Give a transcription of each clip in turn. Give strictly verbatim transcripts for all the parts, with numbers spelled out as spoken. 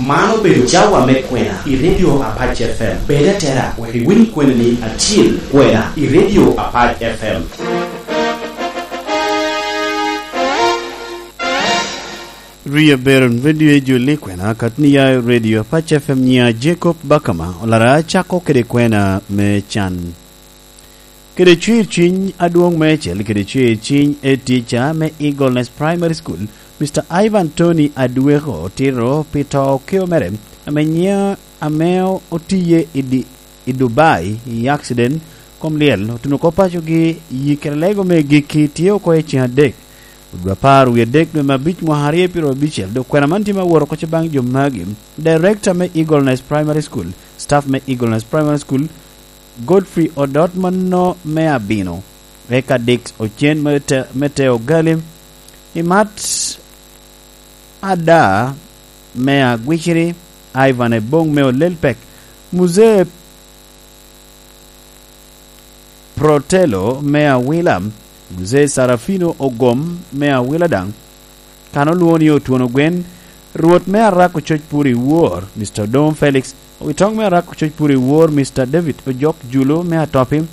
Man obedo cawa me kwena i Radio Apac F M. Bed atera wek iwiny kweni-ni acil, kwena i Radio Apac F M. Rie Beron Radio Ejuli kwena, kat ni ya Radio Apac F M, nya Jacob Bakama, olara acako kede kwena me can. Kede cwir cwiny adwoŋ meicel, kede cwir cwiny e tica me Eagle Nest Primary School, Mister Ivan Tony Adweko otito pi to okeo mere, ame nyiŋe, ame otiye i di-, i Dubai i accident kom lyel, otuno oko pacogi. Yi kede lego me gikki tye oko i ceŋ adek, odwa apar wie adek dwe me abic mwaka aryo pyero abicel, dok kwena man tye me woro oko baŋ jo magi. Director me Eagle Nest Primary School, staff me Eagle Nest Primary School, Godfrey Odot mano me abino, eka Dix Ocen me te-, me te Ogali, Imat Ada me Agwiciri, Ivan Ebong me Olelpek, Muzee Protelo me Awila, Muzee Sarafino Ogom me Awila daŋ, kan olwoŋo ni Otwono Gwen, Rwot me Arako Coc Pur i Wor, Mister Odom Felix, Owitoŋ me Arako Coc Pur i Wor, Mister David Ojok Julu me Atopi,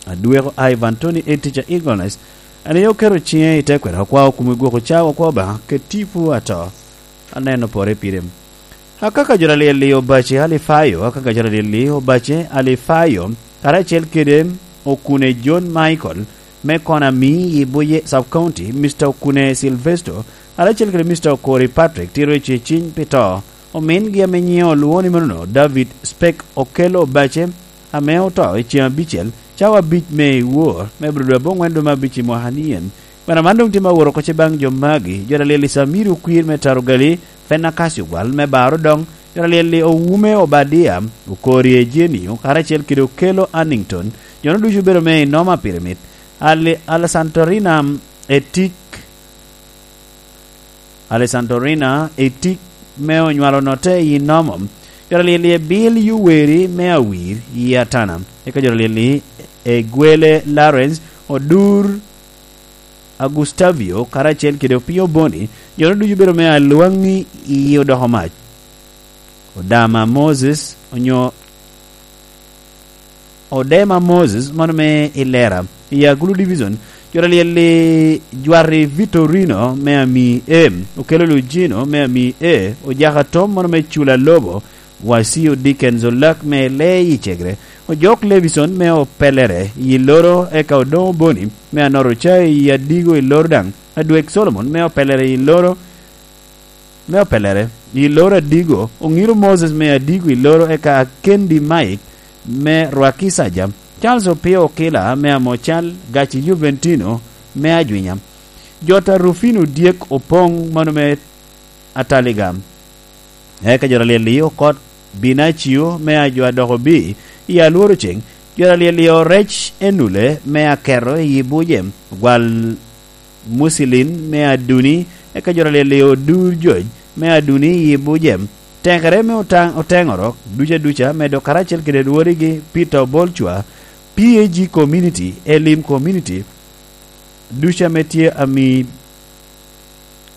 Adweko Ivan Tony Etich a Eagleness, en aye oketo ciŋe i te kwena, okwao kumi gwoko cawa, okwao Obaŋa kede tipo ato. Aneno pore pire. Akaka jo alyel-li Obace Alifayo, akaka jo alyel-li Obace Alifayo, karacel kede Okune John Michael, me Konami i Buye Sub County, Mister Okune Silvesto, karacel kede Mister Okori Patrick, tito i ceciny pi to. Omingi ame nyiŋe olwoŋo ni manono, David Spek Okello Obace, ame oto i ceŋ abicel, cawa abic me i wor, me Abril dwe aboŋwen dwe me abic i mwaka ni en. Kwena man doŋ tye me aworo oko baŋ jo magi, jo alyel i Samiri Okwir me Tarogali, Fenakasi Ogwal me Baro Doŋ, jo alyel i Owume Obadia, Okori Ejenio, karacel kede Okello Annington, jo-nu ducu obedo me i Noma Pirimit, Ali-, Alasantorina Etik, Alessandrina Etik me onywalo note i Nomo, jo alyel i Ebil Yoweri me Awir i Atana, eka jo alyel i Egwele Lawrence Odur, Agustavio, karacel kede Opio Boni, jo-nu ducu obedo me Alwaŋi i Odoko Mac. Odama Moses, onyo Odema Moses, mano me i Lera, i Agulu Division, jo alyel i Jwari Vitorino me Ami E, Okello Lugino me Ami E, Ojaka Tom, mano me Cula Lobo, Wasio Dickens Olak me Lee i Cegre, Ojok Levison me Opelere i Loro, eka Odoŋo Boni me Anoro Cai i Adigo i Loro daŋ, Adwek Solomon me Opelere i Loro, me Opelere, i Loro Adigo, Oŋiro Moses me Adigo i Loro, eka Akendi Mike me Rwakisaja, Charles Opio Okila me Amocal, Gaci Juventino me Ajwinya, Jota Rufino Dyek Opoŋ, mano me Ataliga. Eka jo alyel i Okot Binacio me Ajo Adoko Bi i Alworo Ceŋ, jo alyel i Orec Enule me Aketo i Buje, Gwal Mucilin me Aduni, eka jo alyel i Odur Joj me Aduni i Buje, Tekere me Otaŋ-, Oteŋoro duca duca, medo karacel kede rwodigi Peter Obolcwa, P A G Community, Elim Community, duca ame tye ami,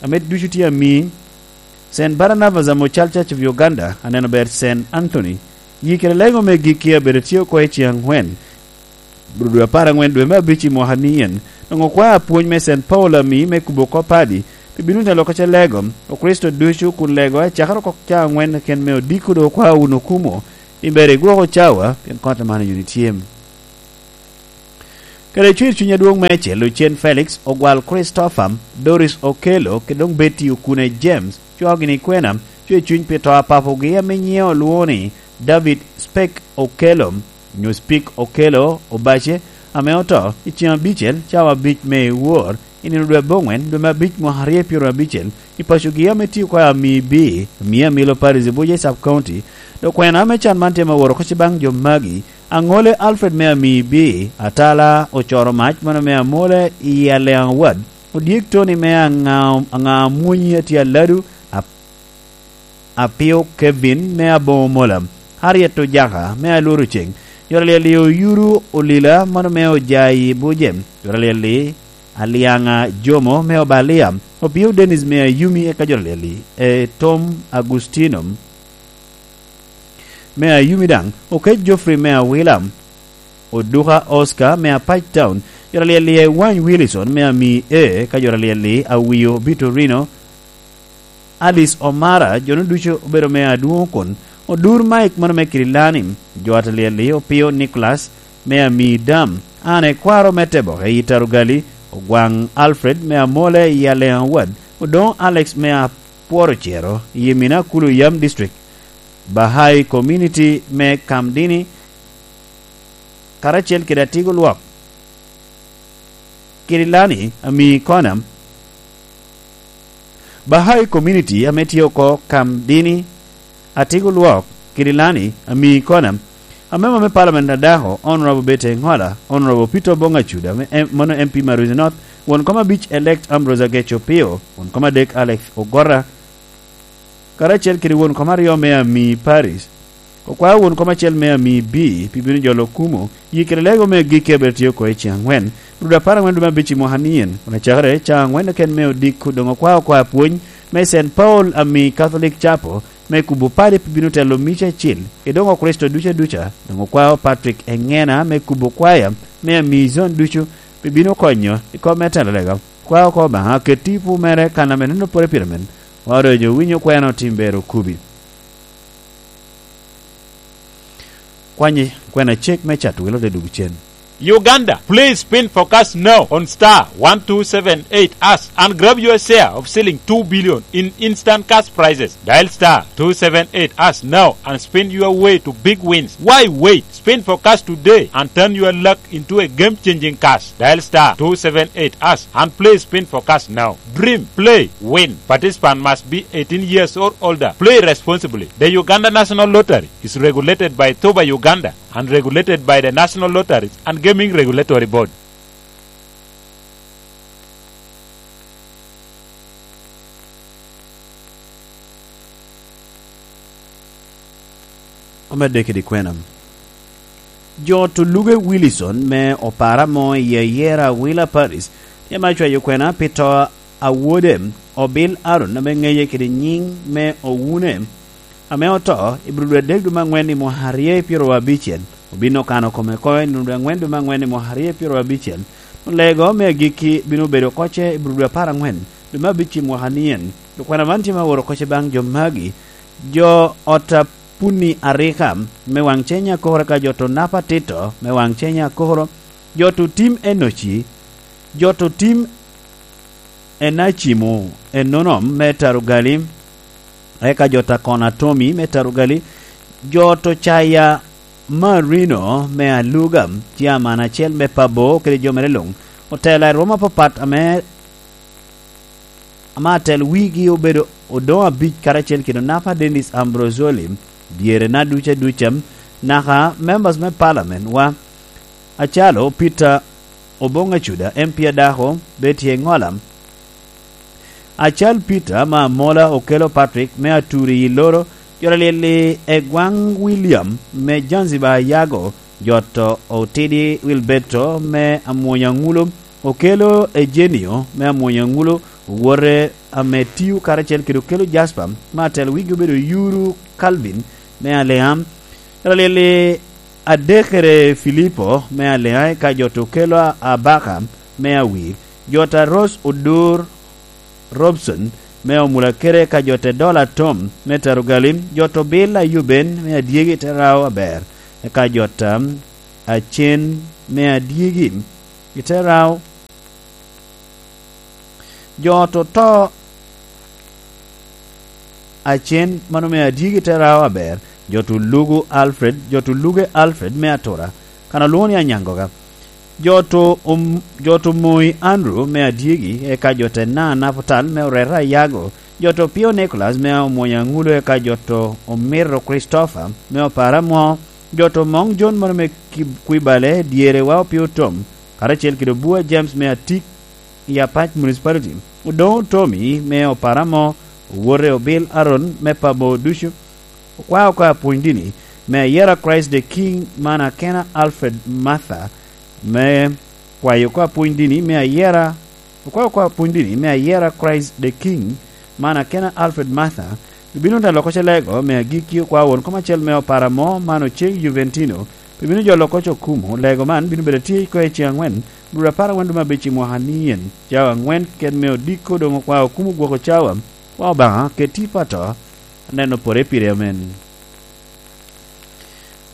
ame ducu tye ami, Saint Barnabas Amocal Church of Uganda, aneno ber Saint Anthony, yi kede lego me gikki abedo tye oko i ceŋ aŋwen, Rudwe apar aŋwen dwe me abic i mwaka ni en, doŋ okwao apwony me Saint Paul ami me kubo kop padi, pi bino te loko ca lego, Okricito ducu kun lego acakere oko ca aŋwen keken me odiko doŋ okwao wunu kumo, i ber igwoko cawa, pien kot man oyuni tyem. Kede cwir cwiny adwoŋ me acel, Ocen Felix, Ogwal Christopher, Doris Okello, kede doŋ Betty Okune James, coo gini kwena, cwir cwiny pi to a papogi ame nyiŋe olwoŋo ni David Spek Okello, nyo Spik Okello Obace, ame oto i ceŋ abicel, cawa abic me i wor, i nino dwe aboŋwen, dwe me abic, mwaka aryo pyero abicel, i pacogi ame tye oko i Ami B, Ami Amilo Parish i Buje Sub County. Dok kwena ame can man tye me woro oko baŋ jo magi, Aŋole Alfred me Ami B, Atala Ocoro Mac, mano me Amole i Aleaŋ Ward, Odyek Tony me Aŋa-, Aŋa Amwonyi Atye Aladu, Ap-, Apio Kevin me Aboŋo Mola, Harriet Ojaka me Alworo Ceŋ, jo alyel i Oyuru Olila, mano me Ojayi Buje, jo alyel i Aliaŋa Jomo me Obalia, Opio Dennis me Ayumi eka jo Alyel-li, e Tom Agustino me Ayumi daŋ, Okec Geoffrey me Awila, Oduka Oscar me Apac Town, jo Alyel-li e Wany Wilson me Ami E, ka jo Alyel-li Awio Vitorino, Alice Omara, jo-nu ducu obedo me adwoŋ kun, Odur Mike mano me Kirilani, jo Alyel-li Opio Nicholas me Ami Dam, an ekwaro me Teboke i Tarugali, Ogwaŋ Alfred me Amole i Aleŋ Awad, Odoŋo Alex me Apworo Cero i Mina Kulu Yam District, Bahai Community me Kamdini, karacel kede Atigo Lwok. Kirilani Ami Kona, Bahai Community ame tye oko Kamdini, Atigo Lwok, Kirilani Ami Kona, amemba me Parliament a dako, Honorable Betty Engola, Honorable Peter Obong Acuda, me em-, mano M P Maruzi North, won kom abic elect Ambrose Agech Opio, won kom adek Alex Ogora, karacel kede won kom aryo me Ami Paris. Okwao won kom acel me Ami B pi bino jolo kumo, yi kede lego me agikki a bene tye oko i ceŋ aŋwen, rudo apar aŋwen dwe me abic i mwaka nien, kun acakere caŋ aŋwen keken me odiko doŋ okwao oko apwony me Saint Paul Ami Catholic Chapel me kubo padi pi bino telo mica acil, i doŋo Kricito duca duca, doŋ okwao Patrick Eŋena me kubo kwaya me Ami Zone ducu pi bino konyo i kop me telo lega. Kwa oko Obaŋa ket tipo mere kan ame neno pore pire men, wa doŋ jo winyo kwena otim ber okubi. Kwanye kwena cek me cat wilo te dug cen. Uganda, please spin for cash now on star one two seven eight hash and grab your share of selling two billion in instant cash prizes. Dial star two seven eight hash now and spin your way to big wins. Why wait? Spin for cash today and turn your luck into a game-changing cash. Dial star two seven eight hash and play spin for cash now. Dream, play, win. Participant must be eighteen years or older. Play responsibly. The Uganda National Lottery is regulated by Toba Uganda and regulated by the National Lotteries and Gaming Regulatory Board. Omedde kede kwena. Jo Tuluge Wilson me Opara mo i Ayera Wila Paris tye ma cwayo kwena pi to a wode, Obil Aaron, ame ŋeye kede nyiŋ me Owune, ame oto i Abril adek dwe me aŋwen i mwaka aryo i pyero abicel. Obin okano kome oko i nino dwe aŋwen dwe me aŋwen i mwaka aryo i pyero abicel. Lego me agikki bino bedo kocce i Abril dwe apar aŋwen dwe me abic i mwaka nien. Dok kwena man tye ma oro kocce baŋ jo magi, jo ot a Puni Arika me waŋ cenya akokoro, ka jo to Napa Tito me waŋ cenya akokoro, jo to Tim Enoci, jo to Tim Enacimo Enonom me Tarugali, eka jo ta Kona Tomi me Tarugali, jo to Caya Marino me Aluga, tye aman acel me Pabo kede jo mere luŋ. Otela i rwom apapat ame, ame atel wigi obedo Odoŋo Abic karacel kede Onapa Dennis Ambrosoli, dyerena duca duca, naka members me parliament wa, acalo Peter Obong Acuda, M P a dako, Betty Engola, Acal Peter me Amola, Okello Patrick me Aturi i Loro, jo Alyel-li Egwaŋ William me Zanzibar Ayago, jo to Otidi Wilberto me Amwony Aŋulo, Okello Eugenio me Amwony Aŋulo, owote ame Tiu karacel kede Okello Jasper me Atel, wigi obedo Yuru Calvin me Aleam, jo Alyel-li Adekere Filipo me Aleam, eka jo to Okello Abaka me Awir, jo ta Rose Odur Robson me Omulakere, eka jo te Dola Tom me Tarugali, jo to Bil Ayuben me Adyegi te Rao Aber, eka jo ta Acen me Adyegi i te Rao, jo to to Acen mano me Adyegi te Rao Aber, jo to Lugu Alfred, jo to Luge Alfred me Atura, kan olwoŋo ni Anyangoga, jo to om-, jo to Moi Andrew me Adyegi, eka jo te Na Naputal me Oreta Ayago, jo to Pio Nicholas me Omwony Aŋulo, eka jo to Omiro Christopher me Opara Mwo, jo to Moŋ John mano me Kib-, Kwibale, dyere wa Opio Tom, karacel kede Obua James me Atik i Apac Municipality, Odoŋo Tommy me Opara Mwo, owote Obil Aaron me Pabo ducu, okwao oko apwony dini me Ayera Christ the King, man akena Alfred Martha me kwayo oko apwony dini me Ayera Okwao kwa pwony dini me ayera Christ the King, man akena Alfred Martha, bino telo oko ce lego me agikki okwao won kom acel me opara mo man oceg Juventino, pe bino jolo oko ce okumo. Lego man bino bedo tye i koe ceŋ angwen, dwe apar angwen dwe me abic i mwaka ni en, cawa angwen keken me odiko doŋ okwao okumo gwoko cawa, kwa Obaŋa keti pato, aneno pore pire amen.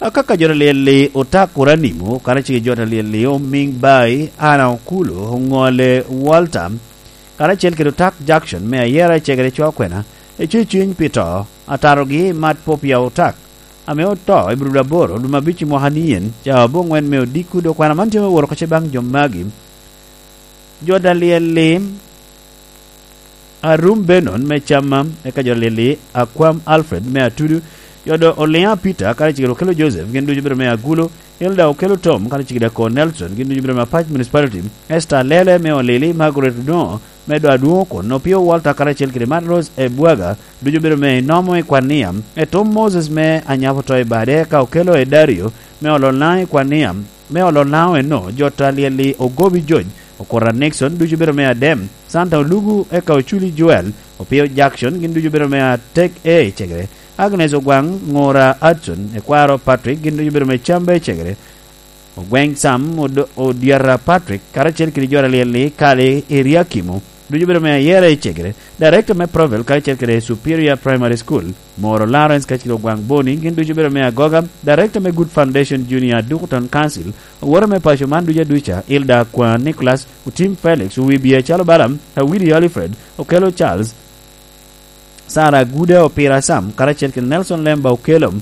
Akaka jo ta lyel-li otak Kuranimo, karacel ki jo ta lyel-li Oming Bai, Ana Okulu, Oŋole Walter, karacel kede otak Jackson me ayera i cegere co akwena, ecwe cwiny pi to, atarogi mat po pia otak, ame oto i Bruda aboro, dwe me abic i mwaka ni en, cawa aboŋwen me odiko, dok kwana man tye me woro oko ce baŋ jo magi. Jo ta lyel-li, Arum Benon me Camma, eka jo ta lyel-li, Akwam Alfred me Atudu, jo do Oliŋa Peter, karacel kede Okello Joseph, gin ducu bedo me Agulo, Hilda Okello Tom, karacel kede Akor Nelson, gin ducu bedo me Apac Municipality, Esther Lele me Olili, Margaret Odongo, me do Adwoŋ Okon, Opio Walter, karacel kede Mark Rose Ebwaga, ducu bedo me Inomo i Kwania, Etom Moses me Anyabo to i Bade, eka Okello Edario, me Ololna i Kwania, me Ololna eno, jo ta lyel-li Ogobi George, Okora Nixon, ducu bedo me Adem, Santa Olugu, eka Oculi Joel, Opio Jackson, gin ducu bedo me Atek E i Cegere, Agnes Ogwaŋ, Ŋora Hudson, Ekwaro Patrick, gin ducu bedo me Cambe i Cegere, Ogweŋ Sam, Od-, Odyata Patrick, karacel kede jo ta lyel-li Kali Eriakimo, ducu bedo me ayera i Cegere, Director me Provel karacel kede Superior Primary School, Moro Lawrence kacel Ogwaŋ Boni, gin ducu bedo me Agoga, Director me Good Foundation Junior Dukuton Council, owote me paco man ducu aduca, Hilda Akwa Nicholas, Otim Felix, Owibia Calo Balaam, Awidi Alfred, Okello Charles, Sara Aguda Opira Sam, karacel kede Nelson Lemba Okello,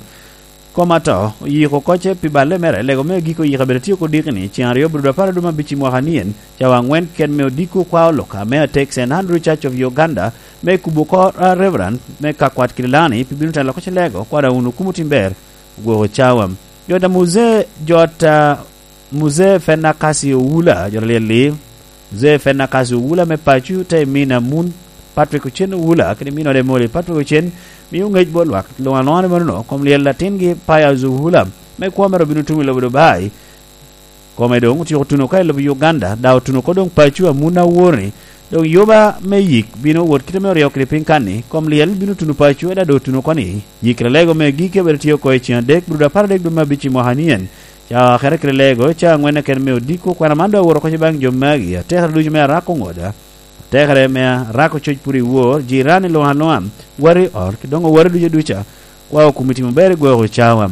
Koma to, oyiko oko ce pi balle mere, lego me agikki oyiko abedo tye oko diki ni, ceŋ aryo, Bruda apar aduma abic i mwaka ni en, cawa angwen keken me odiko kwa olok ame atek Saint Andrew Church of Uganda, me kubo oko, ah, Reverend, me ka kwat kede lani, pi bino telo oko ce lego, kwada wunu kumo tim ber, ogwoko cawa. Jota Muzee, jota Muzee Fenakasi Owula, jota lyel-li, Muzee Fenakasi Owula me paco, te min Amun Patrick Ocen Owula, kede min ode Moli Patrick Ocen, mio ŋec bot lwak luŋ alwoŋa ni manono, kom lyel latingi Pius Owula, me kwo mere obino tumo i lobo Dubai. Kome doŋ otyeko tuno ka i lobo Uganda, daŋ otuno oko doŋ paco Amun Awor-ni, doŋ yuba me yik bino wot kite me oryo kede piny kan-ni, kom lyel bino tuno paco, eda doŋ otuno oko ni, yik lego me giki abedo tye oko i ceŋ adek, Bruda apar adek dwe me abic i mwaka ni en, cawa akete kede lego, cawa angwen keken me odiko, kwena man doŋ awot oko ce baŋ jo magi, atekere ducu me arako ŋoda, atekere me arako coc pwod i wor, jirani luŋ aluŋa, wati i ot, kede doŋ owati ducu aduca, kwa okomi timo ber i gwoko cawa.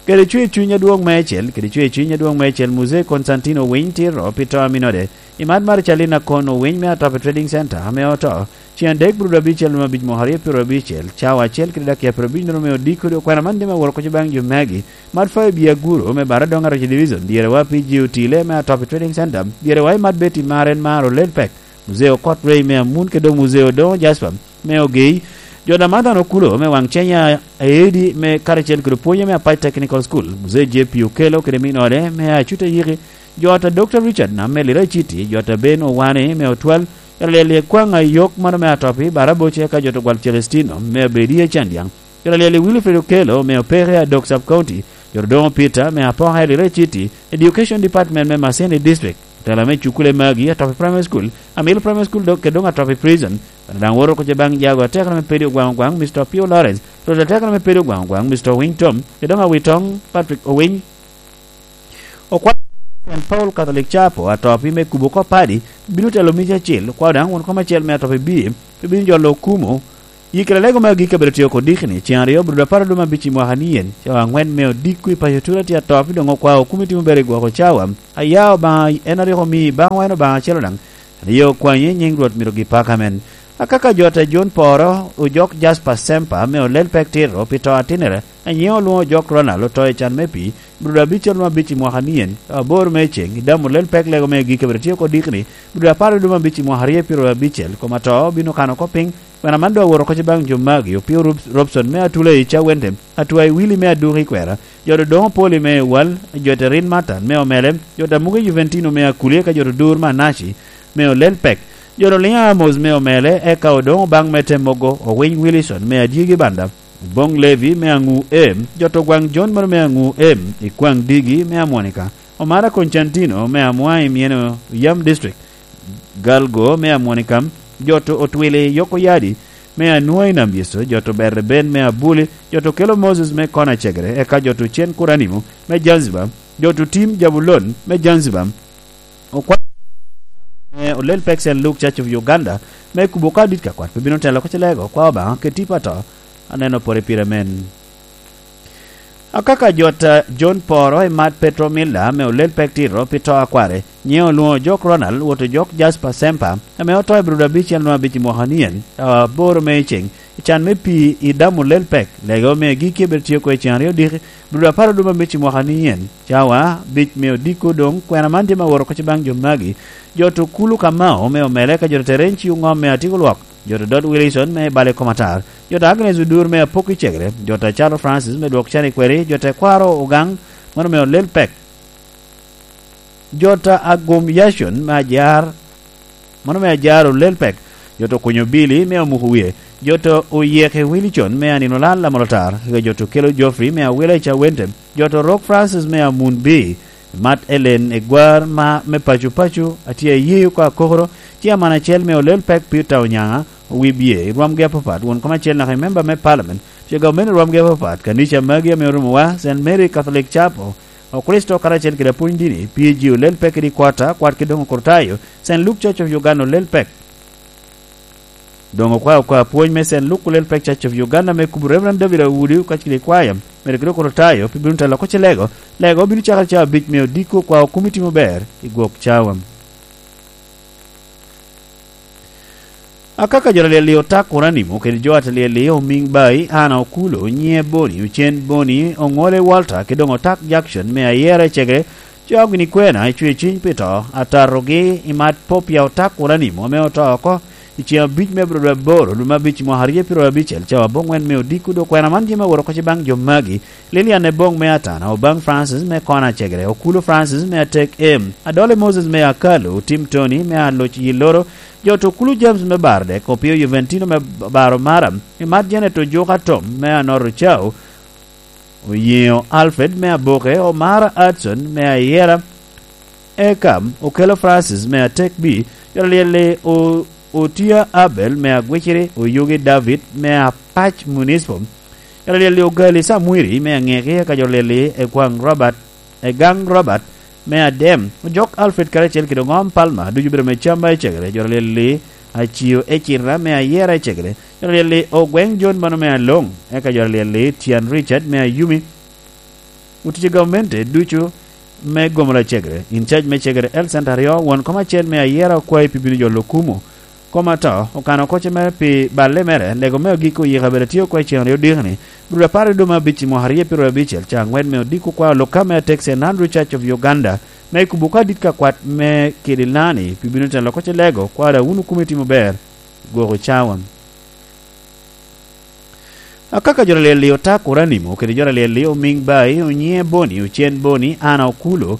Kede cwer cuny adwoŋ meicel, kede cwer cuny adwoŋ meicel, Muzee Konstantino Owiny Tito, pi to a minode, i mat Marcalina Kon Owiny me Atopi Trading Center, ame oto, ceŋ adek Bruda abicel dwe me abic mwaka aryo pyeraryo abicel, cawa acel kede dakia pyeraryo abic nino me odiko, dok kwena man dime awot oko ce baŋ jo magi, Mat Fayo Biaguro me Baradoŋ Arocci Division, dyere wa pi G O T le me Atopi Trading Center, dyere wa i Mat Betty Maren Maro Lelpek, Muzee Okot Ray me Amun, kede doŋ Muzee Odoŋo Jasper me Ogei, jo Namathan Okulo me Waŋ Cenya Aedi me karacel kede pwonye me Apac Technical School, Muzee J P Okello kede min ode me Acuta Yiki, jo ta Doctor Richard Nam me Lira City, jo ta Ben Owane me Otwal, jo ta Lyel Lyek Kwaŋ Ayok mano me Atopi, Baraboce, eka jo ta Gwal Celestino me Abedi Acandiaŋ, jo ta Lyel Wilfred Okello me Opeke Adok Sub County, jo ta Doŋo Peter me Apoka i Lira City, Education Department me Masini District, otela me cukule magi, Atopi Primary School, Amil Primary School, dok, kede doŋ Atopi Prison. Bene daŋ woro oko ce baŋ jago atekere me Pedi Ogwaŋ Ogwaŋ, Mister Opio Lawrence, rwot atekere me Pedi Ogwaŋ Ogwaŋ, Mister Owiny Tom, kede doŋ Awitong Patrick Owiny. Okwalo Saint Paul Catholic Chapel, Atopi me kubo oko padi, bino telo mic acel, okwao daŋ won kom acel me Atopi Bie, pe bino jolo okumo, Yikere lego me agikki abedo tye oko diki ni, ceŋ aryo, Bruda apar aduma abic i mwaka ni en, cawa angwen me odiko i paco Tula tye Atopi doŋ okwao okomi timo ber i gwoko cawa. Aya Obaŋa en a rik omii baŋwa en Obaŋa acel daŋ, aryo okwanyi i nyiŋ Rwot myero gipaka men. Akaka jo ta John Poro, Ojok Jasper Semper me Olel Pek Tito pi to atinere, a nyiŋe olwoŋo Ojok Ronald oto i can me pii, Bruda abicel duma abic i mwaka ni en, aboro me ceŋ, i damo Olel Pek lego me agikki abedo tye oko diki ni, Bruda apar aduma abic i mwaka aryo pyeraryo abicel, kom ato bino kano oko piny, Kwena man doŋ awot oko ce baŋ jo magi, Opio Rob-, Robson me Atula i Cawente, Atwai Willy me Aduki i Kwera, jo Dodoŋo Poli me Ewal, jo Terin Matan me Omele, jo Tamuge Juventino me Akulie, ka jo Dur Manaci me Olel Pek, jo Liŋa Amos me Omele, eka Odoŋo Baŋ me Temogo, Owiny Willison me Adyegi Banda, Oboŋ Levi me Aŋu Em, jo Ogwaŋ Jon mano me Aŋu Em, Ikwaŋ Digi me Amwonika, Omara Konstantino me Amwai Mieno Yam District, Galgo me Amwonikam, joto Otwili Yoko Yadi me Anua i Nam Yecu, joto Bereben me Abuli, joto Kelo Moses me Kona Cegere, eka joto Cen Kuranimo me Zanzibar, joto Tim Jabulon me Zanzibar, okwa-, me Olel Pek Saint Luke Church of Uganda, me kubo ka dit ka kwat, pe bino telo ko cilego, kwa Obaŋa, keti pato, aneno pore pire men. Akaka jot, eh, John Poro i mat Petro Miller me Olel Pek Tito pi to a kware, nyiŋe olwoŋo jok Ronald, woto jok Jasper Semper, ame oto i Bruda abicel nwa abic i mwaka ni en, cawa aboro me i ceŋ, i can me pii i damo Olel Pek, lege omio giki bedo tye oko i ceŋ aryo diki, Bruda apar oduma abic i mwaka ni en, cawa abic me odiko doŋ, kwena man tye ma woro kocci baŋ jo magi, jot Okulu Kamau me Omele ka jot Terenci Oŋom me Atiko Lwok, jot Dot Wilson me Bale Komatar, jot Agnes Odur me Apok i Cegere, jot Acalo Francis me Dwok Can i Kweri, jot Tekwaro Ogaŋ, mano me Olel Pek, jot Agum Yacon me Ajar, mano me Ajar Olel Pek, jot Okunyo Bili me Amuko Wie, jot Oyeke Wilicon me Anino Lal Lamolotar, kede jot Okelo Geoffrey me Awila i Cawente, jot Orok Francis me Amun Bi, Mat Elen Egwar ma me paco paco, atye aye oko akokoro, ci aman acel me Olel Pek Peter Onyaŋa, Owibye, i rwomgi apapat, won kom acel naka i memba me Parliament, ce gamente i rwomgi apapat, kanica magi ame orumowa, Saint Mary Catholic Chapel, Okricito karacel kede apwony dini, P G Olel Pek kede Kwata, kwat kede doŋ Okritayo, Saint Luke Church of Uganda Olel Pek. Doŋ okwao oko apwony me Saint Luke Olel Pek Church of Uganda me kubo Reverend David Awudi, okac kede kwaya, mere kede Okritayo, pi bino telo oko cilego, lego obino cakere cawa abic me odiko, okwao kumi timo ber i gwok cawa. Akaka jo alyel-li Otak Oranimo kede jo alyel-li Omiŋ Bai, Ana Okulo, Nyiŋe Boni, Ocen Boni, Oŋole Walter, kede doŋ Otak Jackson me Ayera i Cegere, coo gini kwena i cwer cwiny pi to, atatogi i mat Popia Otak Oranimo ame oto oko i ceŋ abic me abiro dwe aboro, dwe me abic i mwaka aryo pyeraryo abicel, cawa aboŋwen me odiko, dok kwena man tye me woro kocci baŋ jo magi, Lilian Eboŋ me Atana, Obaŋ Francis me Kona Cegere, Okulo Francis me Atek Em, Adole Moses me Akalo, Tim Tony me Aloc Yiloro, jot Okulu James me Baro Dek, Opio Juventino me Baro Maram, i mat Janet Ojuka Tom me Anoro Cao, Oyeŋo Alfred me Aboke, Omara Adson me Ayera, eka Okelo Francis me Atek Bi, jot alyel-li O-, Otia Abel me Agwiciri, Oyugi David me Apac Municipal, jot alyel-li Ogali Samwiri me Aŋeki, eka jot alyel-li Egwaŋ Robert, Egaŋ Robert me Adem, Ojok Alfred karacel kede Oŋom Palmer, ducu obedo me Camba i Cegere, jot alyel-li Acio Ecirra me Ayera i Cegere, jot alyel-li Ogweŋ John mano me Aloŋ, eka jot alyel-li Tian Richard me Ayumi, otic i gamente ducu me gomo lacegere, in cac me Cegere Health Center aryo, won kom acel me Ayera okwayi pi bino jolo kumo kom ato, okano kocce mere pi balle mere, lego me agikki oyika bene tye oko i ceŋ aryo diki-ni, Bruda apar i dwe me abic i mwaka aryo pyeraryo abicel, ca aŋwen me odiko kwa Luka me Atek Saint Andrew Church of Uganda, me kubo ka dit ka kwat me Kidilani, pi bino telo kocce lego, kwara wunu kumo itimo ber, gwoko cawa. Akaka jot alyel-li Otak Oranimo kede jot alyel-li Omiŋ Bai, Onyiŋe Boni, Ocen Boni, Ana Okulo,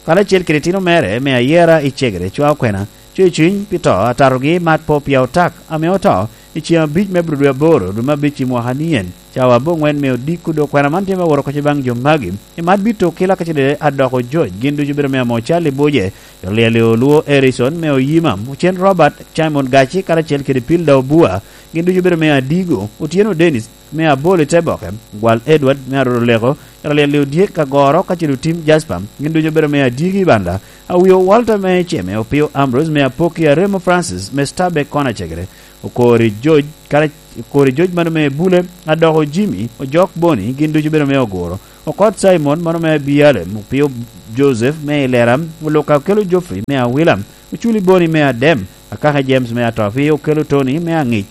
karacel kede itino mere me Ayera i Cegere, cwa okwena, cwer cwiny pi to, atatogi mat Popia Otak, ame oto i ceŋ abic me abiro dwe aboro, dwe me abic i mwaka ni en, cawa aboŋwen me odiko, dok kwena man tye me woro kocci baŋ jo magi, i mat bito kila ka cedede adoko joc, gin ducu obedo me amo Charlie Boje, jot alyel-li Olwo Erison me Oyima, Ocen Robert, Simon Gaci, karacel kede Pilda Obua, gin ducu obedo me Adigo, Otyeno Dennis me Abol i Teboke, Gwal Edward me Aroro Leko, jot alyel-li Odyek Agoro, ka cito Tim Jasper, gin ducu obedo me Adyegi i Banda, Awio Walter me Ceme, Opio Ambrose me Apoki, Aremo Francis me Stabek Kona Cegere, Okori George, kara-, Okori George mano me Bule, Adoko Jimmy, Ojok Boni, gin ducu obedo me Oguro, Okot Simon mano me Bialem, Opio Joseph me Ilera, Oluka Okelo Geoffrey me Awila, Oculi Boni me Adem, Akaka James me Atopi, Okelo Tony me Aŋic,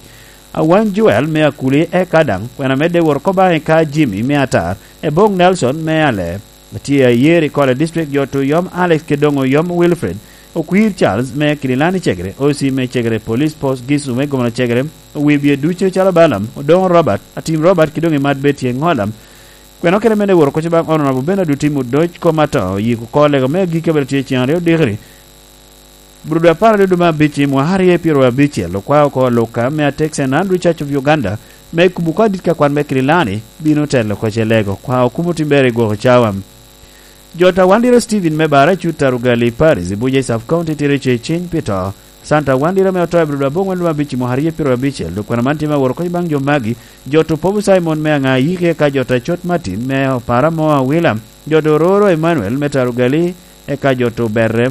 Awany Joel me Akuli, eka daŋ kwena medde wot oko baŋ i ka Jimmy me Atar, Ebong Nelson me Aler, atye ayer i Kole District, jot Oyom Alex kede doŋ Oyom Wilfred, Okwir Charles me Kidilani Cegere, O C me Cegere Police Post, Gisu me Gomla Cegere, Owibye ducu calo Balaam, Odoŋo Robert, Atim Robert kede doŋ i mat Betty Eŋolam, kwena okene medde wot oko baŋ Honorable Bernard Otim Odoc kom ato, yiko oko lego me agikki abiro tye ceŋ aryo dikiri, Brudo apar aryo dwe me abic i mwaka aryo pyeraryo abicel, okwao oko Luka me Atek Saint Andrew Church of Uganda me kubo ka dit ka kwan me Kirilani bino telo kocce lego, okwao kumo tim ber i gwoko cawa. Jo ta Wandiro Steven me Bara Cut Tarugali Paris i Buja i Sub County tye rece ciny pi to. Santa Wandiro me oto i Brod Abong wendo abic i mwaka aryo pyero abicel, dok kwena man tye me woro kony baŋ jo magi. Jo to Pobu Simon me Aŋa Yiki eka jo ta Cot Martin me Opara mo Awila. Jo to Roro Emmanuel me Tarugali eka jo to Berre.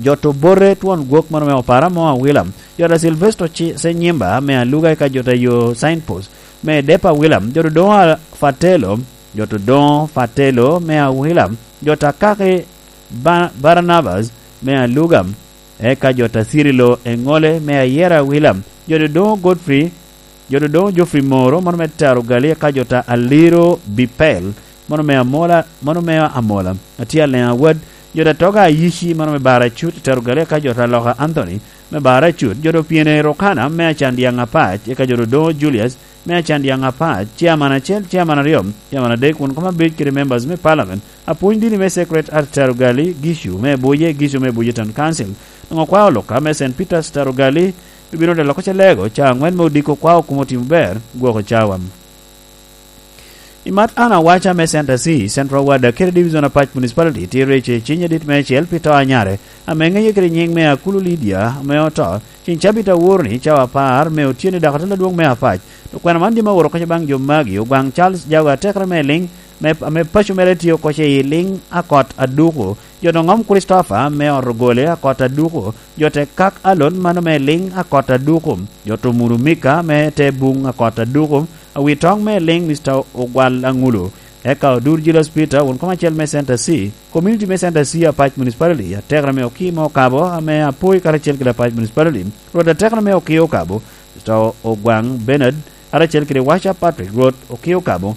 Jo to Bote Twon Gwok mano me Opara mo Awila. Jo ta Silvester Ci-, Senyimba me Aluga eka jo ta yo Signpost me Depa Awila. Jo to Doŋo Fatelo, jo to Doŋo Fatelo me Awila. Jo ta Kaki Ba-, Barnabas me Aluga, eka jo ta Cirilo Eŋole me Ayera Awila. Jo to Doŋo Godfrey, jo to Doŋo Geoffrey Moro, mano me Tarugali, eka jo ta Aliro Bipel, mano me Amola, mano me Amola. Atye Aleŋ Awad, jo ta Toga Ayici, mano me Bara Cut, Tarugali, eka jo ta Loka Anthony, me Bara Cut, jo to Piene Rokana, me Acandyaŋ Apac, eka jo to Doŋo Julius, me Acandyaŋ Apac, chairman acel, chairman aryo, chairman adek, won koma bec kede members me parliament, apwony dini me Sacred Heart Tarugali, Gicu, me Buje, Gicu me Buje Town Council, doŋ okwao Loka, me Saint Peter's Tarugali, Ibino te loko calego, ca aŋwen me odiko kwao kumo timo ber, gwoko cawa. I mat an awaca me Center C, Central Ward, Akere Division Apac Municipality, tye rece ciny adit me acel pi to anyare, ame ŋeye kede nyiŋ me Akulu Lydia, ame oto, ciny cabit awor ni, cawa apar, me otyeni dako atel adwoŋ me Apac. Okwena man jami aworo koca baŋ jo magi, ogwaŋ Charles Jago atekere me liŋ, me, ame paco mere tye oko ce i liŋ akot aduku, jo doŋ om Kricitofa me ot ogole akot aduku, jo te kak alon mano me liŋ akot aduku, jo to muru Mika me te buŋ akot aduku, awi toŋ me liŋ Mister Ogwal Aŋulu, eka odur Julius Peter, won kom acel me Center C, community me Center C Apac Municipality, atekere me Okimo Okabo, ame apoi karacel kede Apac Municipality, rwot atekere me Okio Okabo, Mister Ogwaŋ Bernard, karacel kede Waca Patrick, rwot Okio Okabo,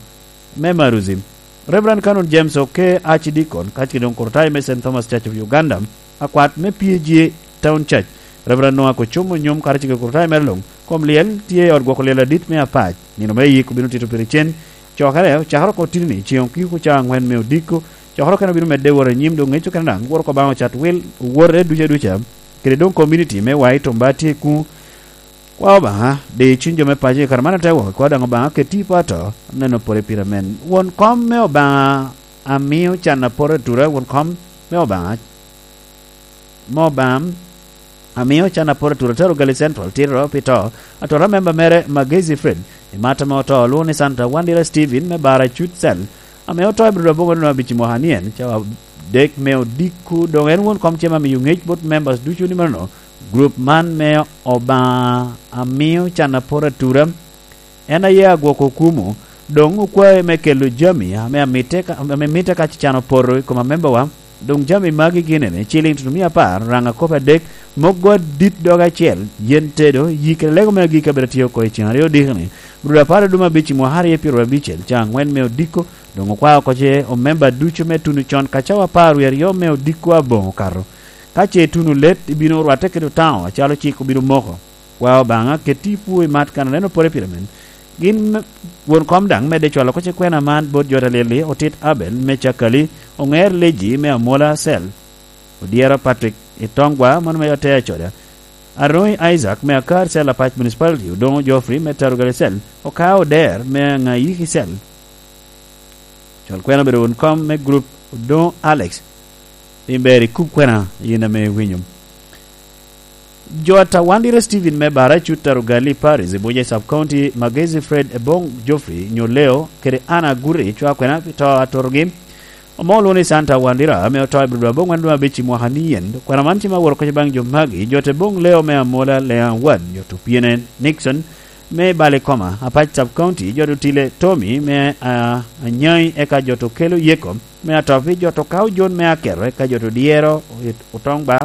me Maruzi. Reverend Canon James Oke, Archdeacon, kacike doŋ Kurtai me Saint Thomas Church of Uganda, akwat me P A G Town Church. Reverend Noah Kocumo Nyom, kacike Kurtai mere luŋ, kom lyel tye i ot gwoko lyel adit me Apac. Nino me yik obino tito pire cen. Cokere ocakere oko titini, ceŋ okiko ca aŋwen me odiko. Cokere okene obino medde wot anyim, doŋ ŋec okene daŋ, woro Obaŋa ocat wil, owote duca duca. Kede doŋ community me Wai Tomba tye kuŋ. Kwa Obaŋa, di cuny jo me paco i kare man ate wok, kwa daŋ Obaŋa, keti i poto, neno pore pire men. Won kom me Obaŋa amio can apoto atura, won kom me Obaŋa, me Obaŋa amio can apoto atura, tero Gali Central, tiro pi to, atora memba mere Magezi Fred, i mata me oto, olwoŋo ni Santa Wandira Steven me Bara Cut Cell, ame oto i Brod Aboŋo Dino Abic i mwaka ni en, cawa dek me odiko, doŋ en won kom cem amiyo ŋec bot members ducu ni mano, Gurup man me Obaŋa amio can apoto atura, en aye agwoko kumo, doŋ okwae me kelo jami ame amitte ka, ame mitte ka can opoto i kom amembawa. Doŋ jami magi gin ene, ciliŋ tutumia apar, raŋ akopo adek, moggo adit dog acel, yen tedo, yik kede lego me agikki abino tiyo oko i cen aryo odikoni, Bruda apar aduma abic i mwaka aryo pyero abicel, ca aŋwen me odiko, doŋ okwao oko ce omemba ducu me tuno con ka cawa apar wie aryo me odiko aboŋo okato. Ka ce ituno let, ibino rwatte kede otaŋo, acalo cik obino moko. Kwa Obaŋa, keti i pwo i mat kan aneno pore pire men. Gin me, won kom daŋ medde cwalo oko ce kwena man bot jo ta lyel-li, otit Abel me Cakali, oŋer Leji me Amola Cell, odyero Patrick i Tongwa, mano me Atea Coda, Aroŋi Isaac me Akar Cell Apac Municipality, Odoŋo Geoffrey me Tarugali Cell, Okao Oder me Aŋayiki Cell. Cwal kwena obedo won kom me gurup Odoŋo Alex. Piny ber ikub kwena, yin ame iwinyo. Jo a Tawandira Steven me Bara Cut Tarugali Paris, i Buja Sub County, Magezi Fred Ebong Geoffrey, nyo Leo, kede Anna Guri, cwa kwena pi to atorogi. Omo olwoŋo ni Santa Wandira, ame oto i Brod Aboŋwen dwe abic i mwaka ni yen. Kwena man cima woro koca baŋ jo magi, jo te boŋ Leo me Amola, Lea Wad, jo to pyene Nixon, me Balikoma, Apac Sub County, jo to Tile Tommy, me, ah, Anyai, eka jo to Kelo Yeko, me Atopi, jo to Kao John me Akero, eka jo to Dyero, Otongba,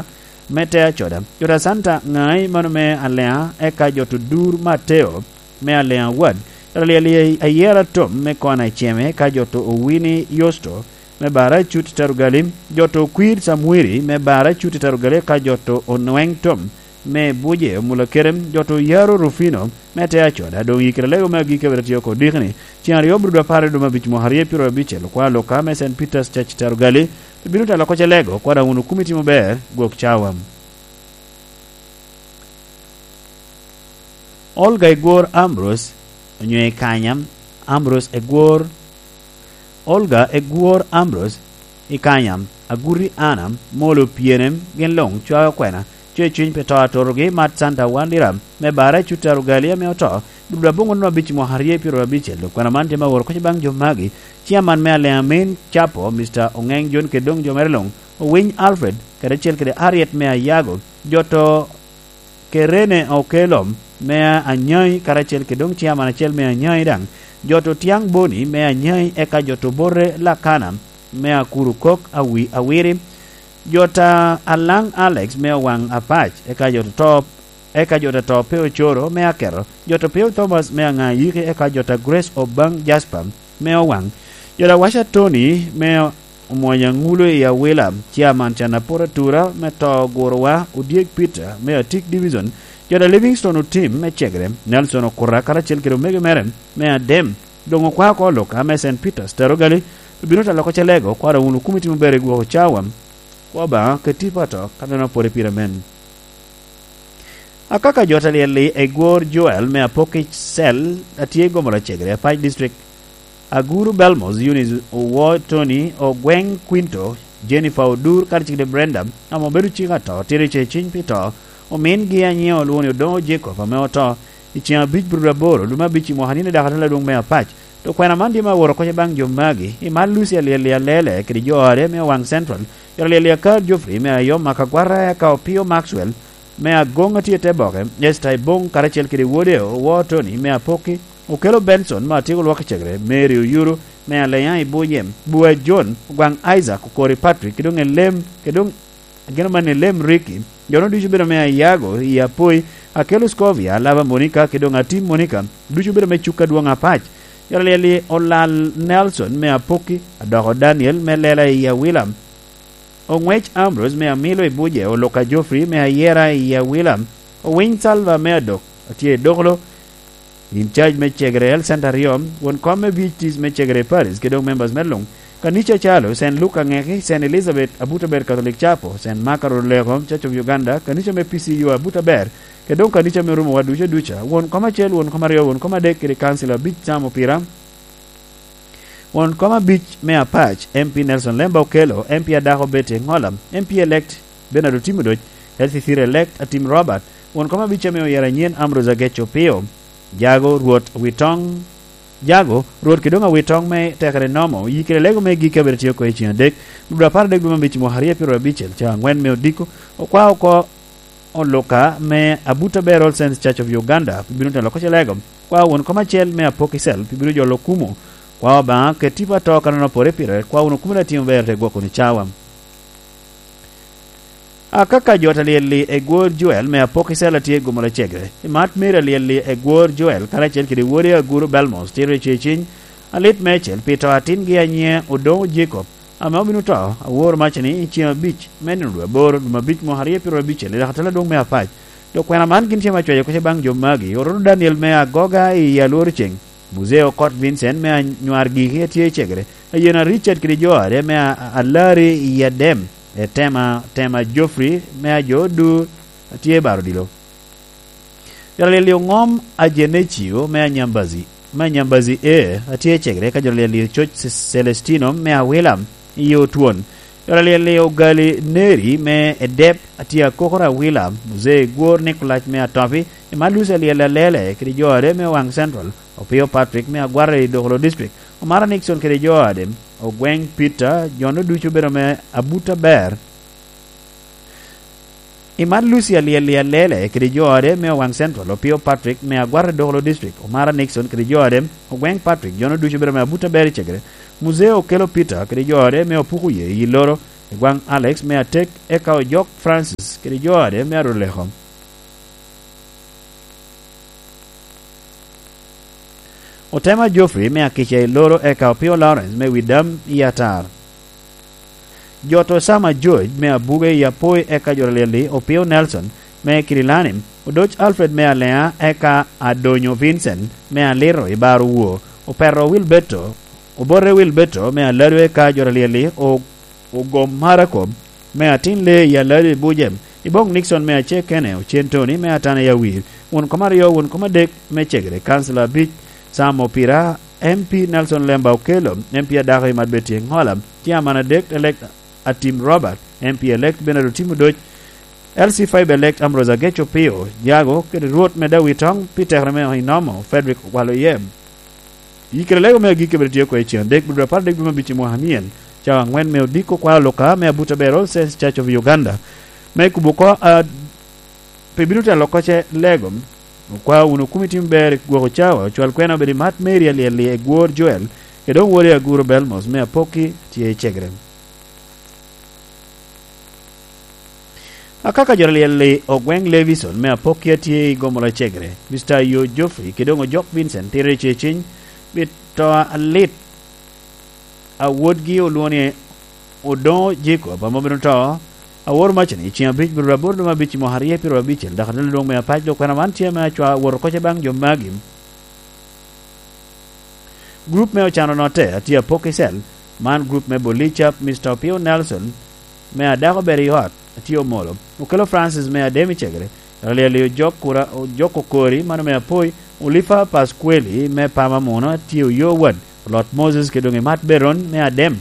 me Tea Coda, jo to Santa Ŋai, mano me Alea, eka jo to Dur Mateo, me Alea Wad, jo to Lyel Ayera Tom, me Kona Iceme, eka jo to Owini Yosto, me Bara Cut Tarugali, jo to Kwir Samwiri, me Bara Cut Tarugali, eka jo to Onweng Tom, me Buje, Omula Kerem, jo to Yaro Rufino, me Tea Coda, doŋ yikere lego me agikki abiro tye oko dikni. Cen aryo Brod apar i dwe me abic mwaka aryo pyero abicel, okwa Luka me Saint Peter's Church Tarugali, bino telo oko ce lego, kwada wunu kumi timo ber, gwok cawa. Olga Egwor Ambrose, onyo Ekanya, Ambrose Egwor, Olga Egwor Ambrose, i Kanyam, Aguti Anna, Molo Pyenem, gin luŋ cwao kwena, cwer cuny pi to a Torogi, Mat Santa Wandira, me Bara, Cutter Ogali ame oto, dul aboŋo nino abic i mwaka aryo i pyeraryo abicel. Dok kwena man tye me aworo kocci baŋ jo magi, Ciaman me Aleamin Capo, Mister Oŋeŋ John, kede doŋ jo mere luŋ, Owiny Alfred, kede acel kede Harriet me Ayago, jo to Kerene Okello me Anyai, karacel kede doŋ ciaman acel me Anyai daŋ, jo to Tiaŋ Boni me Anyai, eka jo to Bote Lakana me Akuru Kok Awi-, Awiri, jo ta Alaŋ Alex me Owaŋ Apac, eka jo to, eka jo ta to Peo Coro me Aketo, jo to Peo Thomas me Aŋa Yiki, eka jo ta Grace Obaŋ Jasper me Owaŋ, jo ta Waca Tony me Omwonya Ŋulo i Awila, Ciaman Canapora Tura me to Gurowa, Odyek Peter me Atik Division, jo ta Livingstone Otim me Cegere, Nelson Okuta karacel kede omego mere me Adem, doŋ okwa oko Luka me Saint Peter's Tarogali, obino ta loko Celego, kwara wunu kumi timo ber i gwoko cawa, kwa Obaŋa keti pato, ka neno pwode pire men. Akaka jo ta lyel-li Egwor Joel me Apoki Cell, a tye i Gomola Cegere, Apac District, Aguru Belmos, Eunice Owo Tony, Ogweŋ Quinto, Jennifer Odur, karacel kede Brenda, ame obedo cik ato, tito i ceciny pi to, omingi anyiŋ olwoŋo ni Odoŋo Jacob, ame oto i ceŋ abic burubut aboro, lume abic i mwaka nino dako atela adwoŋ me Apac. To kwena man tye me aworo kocci baŋ jo magi, i Mat Lucy Alyel-li Alele, kede jo ode me Owaŋ Central, jo ta lyel-li Akar Geoffrey me Ayom, Akagwata, eka Opio Maxwell, me Agoŋ a tye i te boke, Esther Iboŋ karacel kede wode Owo Tony me Apoki, Okelo Benson me Atyeko Lwak i Cegere, Mary Oyuru me Aleya i Buye, Bua John, Ogwaŋ Isaac, Okori Patrick, kede doŋ Elem, kede doŋ ageno man Elem Ricky, jo-nu ducu obedo me Ayago i Apoi, Akelo Scovia, Alaba Monica, kede doŋ Atim Monica, ducu obedo me Cuk Adwoŋ Apac, jo ta lyel-li Olal Nelson me Apoki, Adoko Daniel me Lela i Awila, Oŋwec Ambrose me Amilo i Buje, Oluka Geoffrey me Ayera i Awila, Owiny Salva me Adok, atye i Dokolo, in charge me Cegere Health Center aryo, won kom me V H Ts me Cegere Paris, kede doŋ members me luŋ, Kanica Calo, Saint Luke Aŋeki, Saint Elizabeth Abuto Ber Catholic Chapel, Saint Mark Aroleko, Church of Uganda, Kanica me P C U Abuto Ber, kede doŋ kanica me rumo wa ducu aduca, won kom acel, won kom aryo, won kom adek, kede council abic, Sam Opira, won kom abic me Apac, M P Nelson Lemba Okello, M P Adako Betty Engola, M P elect Bernard Otimo Doc, L C C elect Atim Robert, won kom abic ame oyero anyen Ambrose Agec Opio, Jago Rwot Witong, Jago Rwot kede doŋ Awitong me tekere nomo, yi kede lego me gik abiro tio oko i ceng adek, dwe apar adek dwe me abic mwaka aryo pyeraryo abicel, ca angwen me odiko, okwa oko Oluka me Abuta Ber All Saints Church of Uganda, pi bino telo koc lego. Kwa won kom acel me Apoki Cell, pi bino jolo kumo. Kwa Obaŋa, ket tipo ato kanano pore pire, kwa wun okumo na timo ber te gwoko ni cawa. Akaka jo ta lyel-li Egwor Joel me Apoki Cell atye i Gomola Cegere. I Mat Mary alyel-li Egwor Joel, karacel kede wode Aguru Belmos, tito i ceciny, alit meicel, pi to atingi anyiŋe Odoŋo Jacob, ame obino to, aworo maca ni i ceŋ abic me nino dwe aboro, dwe abic mwaka aryo pyeraryo abicel, i dako atela adwoŋ me Apac. Dok kwena man gin tye me acwayo koc baŋ jo magi, Orono Daniel me Agoga i Alworo Ceŋ, Muzee Okot Vincent me Anywar Giki a tye i Cegere, Ayena Richard kede jo ade me A-, A-, Alari i Adem, Etema, Tema Geoffrey me Ajo Odur a tye i Baro Odilo. Yalili Oŋom Ajenecio me Anyambazi, me Anyambazi A, a tye i Cegere, ka jo lyel-li Ococ Ce-, Celestino me Awila i Otwon. Jo lyel-li Ogali Neri me Edep, a tye Akokoro Awila, Muzee Gwor Nikolaj me Atopi, i Malusi Alyel Alele, kede jo ade me Owaŋ Central, Opio Patrick me Agwara i Dokolo District, Omara Nixon kede jo ade, Ogweŋ Peter, jo-nu ducu obedo me Abuta Ber. I Mat Lucy Alyel-li Alele kede jo ode me Owaŋ Central, Opio Patrick me Agwata Dokolo District, Omara Nixon kede jo ode, Ogweŋ Patrick, jo-nu ducu obedo me Abuta Ber i Cegere, Muzee Okelo Peter kede jo ode me Opuko Ye i Loro, Egwaŋ Alex me Atek, eka Ojok Francis kede jo ode me Aroleko. Otema Geoffrey me Akica i Loro, eka Opio Lawrence me Widam i Atar. Jo to Sama George me Abuge i Apoi, eka jo lyel-li Opio Nelson me Kirilani, Odoc Alfred me Alea, eka Adonyo Vincent me Aliro i Baro Wor, Opeto Wilberto, Obote Wilberto me Alado, eka jo lyel-li O-, Ogom Marako me Atin Lee i Alado i Bujem, Iboŋ Nixon me Acekene, Ocen Tony me Atana i Awir, won kom aryo, won kom adek me Cegere, kansila abic, Sam Opira, M P Nelson Lemba Okello, M P adako i Madbeti Ŋola, Chairman adek elect Atim Robert, M P elect Bernard Otim Odoc, L C five elect Ambrose Ageco Pio, Jago, kede Rwot me Dawitoŋ pi tekere me Oinomo, Frederick Waloyem. I kare lego me agikki bene tye oko i cen adek, dwe apar adek dwe me abic i mwaka anyen, cawa aŋwen me odiko kwalo luka me Abuta Bero Sense Church of Uganda, me kubo oko, a, pe bino telo kocce lego. Okwao wunu kumi tim ber i gwoko cawa, ocwal kwena obed i mat Mary Alyel-li, Egwor Joel, kede oŋ wode Aguro Belmos me Apokki tye i Cegere. Akaka jo Alyel-li, Ogweŋ Levison me Apokki a tye i Gomola Cegere, Mister Ayo Geoffrey, kede oŋ Ojok Vincent, tito i ceciny pi to alit a wodgi olwoŋo ni Odoŋo Jacob, ame obino to, awor macani, i ceŋ abic, dwe aboro dwe me abic i mwaka aryo pyeraryo abicel, dok atelo lwong me apac, dok kwena man tye ame acwa awoto kocce baŋ jo magi. Grup me ocano notte, atye Apokki Cell, man grup me Bolicap, Mister Opio Nelson, me adako ber i ot, atye Omolo, Okello Francis me Adem i Cegere, Alyel-li Ojok Kura-, Ojok Okori, mano me Apoi, Olifa Pasqueli me Pama Muno, atye Oyo Wad, Olot Moses kede oŋ Imat Beron me Adem,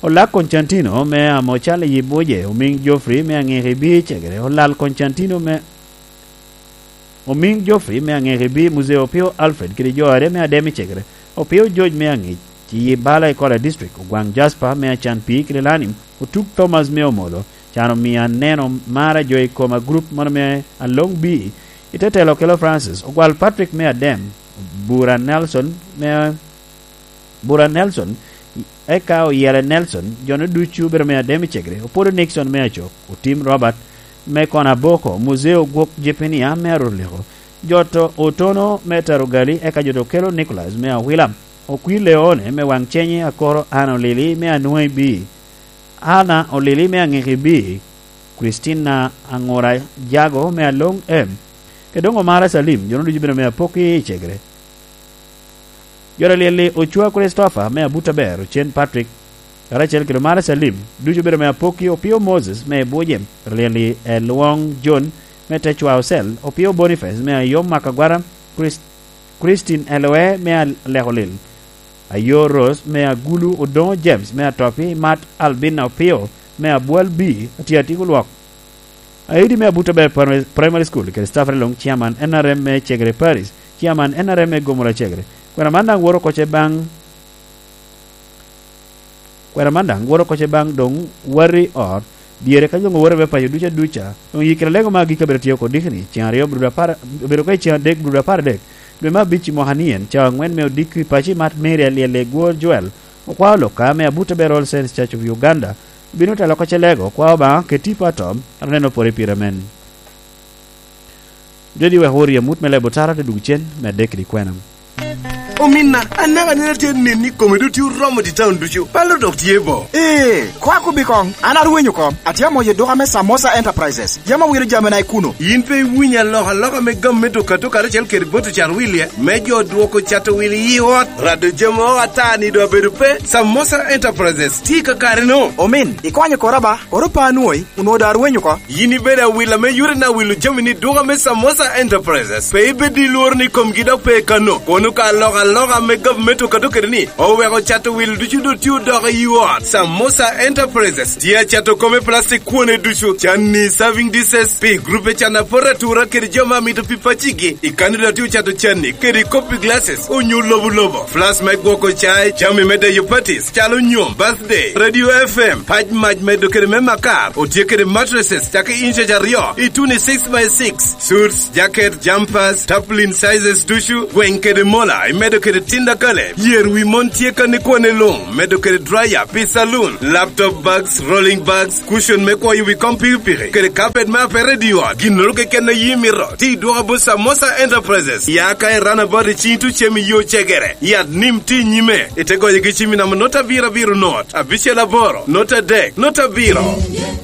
Olak Koncantino me Amocal i Buje, Omiŋ Geoffrey me Aŋekibi i Cegere, Olal Koncantino me Omiŋ Geoffrey me Aŋekibi, Muzeo Opio Alfred kede jo are me Adem i Cegere, Opio George me Aŋic, ci yi bala i Kola District, Ogwaŋ Jasper me Acan Pii kede Lanim, Otuk Thomas me Omolo, can omio aneno mar a jo i koma grup mono me Aloŋ B, i te telo Okello Francis, Ogwal Patrick me Adem, Bura Nelson me Bura Nelson, eka Oyele Nelson, jo-nu ducu obedo me Adem i Cegere, Opolo Nixon me Acok, Otim Robert me Kona Boko, Muzeo Gwok Jepinia me Arot Liko, jo to Otono me Tarugali, eka jo to Okello Nicholas me Awila, Okwi Leone me Waŋ Cenye, Akoro Ana Olili me Anwoŋi B, Ana Olili me Aŋiki B, Christina Aŋura Jago me Aloŋ M, kede oŋ Omara Salim, jo-nu ducu obedo me Apokki i Cegere. Jo Alyel-li, Ocwa Christopher me Abuta Ber, Ocen Patrick, karacel kede Omara Salim, ducu obedo me Apokki, Opio Moses me Buje, jo Alyel-li, Elwoŋ John me Tecwa Ocel, Opio Boniface me Ayom Makagwara, Chris-, Christine Eloe me Al-, Lekolil, Ayo Rose me Agulu, Odoŋo James me Atopi, Mat Albina Opio me Abwal B, Atiatik Olwok. Aidi me Abuta Ber Primary, Primary School kede staff along, Chairman N R M me Cegere Parish, Chairman N R M me Gomora Cegere. Kwena man daŋ woto kocce baŋ, kwena man daŋ woto kocce baŋ doŋ wati ot, dyere ka doŋ owoto me paco duca duca. Doŋ yikere lego me agikki abiro tye oko dikini, ceŋ aryo, bur apar, obedo ka i ceŋ adek, bur apar adek, dwe me abic i mwaka ni en, cawa aŋwen me odiko i paco i Mat Mary Alyel-li Egwor Joel, okwao lok ka me Abuta Ber All Saints Church of Uganda, obino telo kocce lego, okwao Obaŋa kede tipo atom, aneno pore pire men. Jodi wek wor i amut me lebo tara te dwogo cen, me adek kede kwena. Ominna, anaka neno atye nen ni kome doŋ tye oromo i taun ducu. Palo dok tye bo. Ee, koa kobbi koŋ, an arwenyo oko. Atye amoyo duka me Samosa Enterprises. Yam awilo jamina i kuno. Yin pe iwinyo alokaloka me gam me duka duka karacel kede bot ocat wil-lie, me jo dwoko cato wil i ot? Rado jami o ata ni doŋ abedo pe. Samosa Enterprises tye i kakare-nu. Omin, ikwanyo kora ba, koro pe anwoŋi, onwoŋo doŋ arwenyo oko. Yin ibedo awila me yore na wilo jami ni duka me Samosa Enterprises. Pe ibed i lworo ni komgi dok pe kano. Kono ka alokaloka me gavumenti okato kede ni, oweko cato wil ducu doŋ tye odoko i ot. Samosa Enterprises tye acato kome plastic kwone ducu, canni, serving dishes, pi grupe can apot atura kede jo ma mito pi pacigi. I kano dok tye ocato canni kede copy glasses onyo lobo lobo, flask me gwoko cai, jami me deyo parties, calo nyom, birthday, radio F M, pac mac medo kede me makar, otye kede mattresses cake inches aryo, i tuni six by six, suits, jacket, jumpers, tarpaulin sizes ducu, gweng kede mola, imedo kede tinda kale, yer wi mon tye kani kwane luŋ, medo kede dryer pi saloon, laptop bags, rolling bags, cushion me kwoyo wi kom pikipiki, kede carpet me apere i ot, ginnoro keken a yi mito, ti dwoka bot Samosa Enterprises, ya ka i runabout i cing tucem i yo Cegere, yat nim ti nyime, ite goyo gi cim i namba not abiro abiro not, abicel aboro, not adek, not abiro.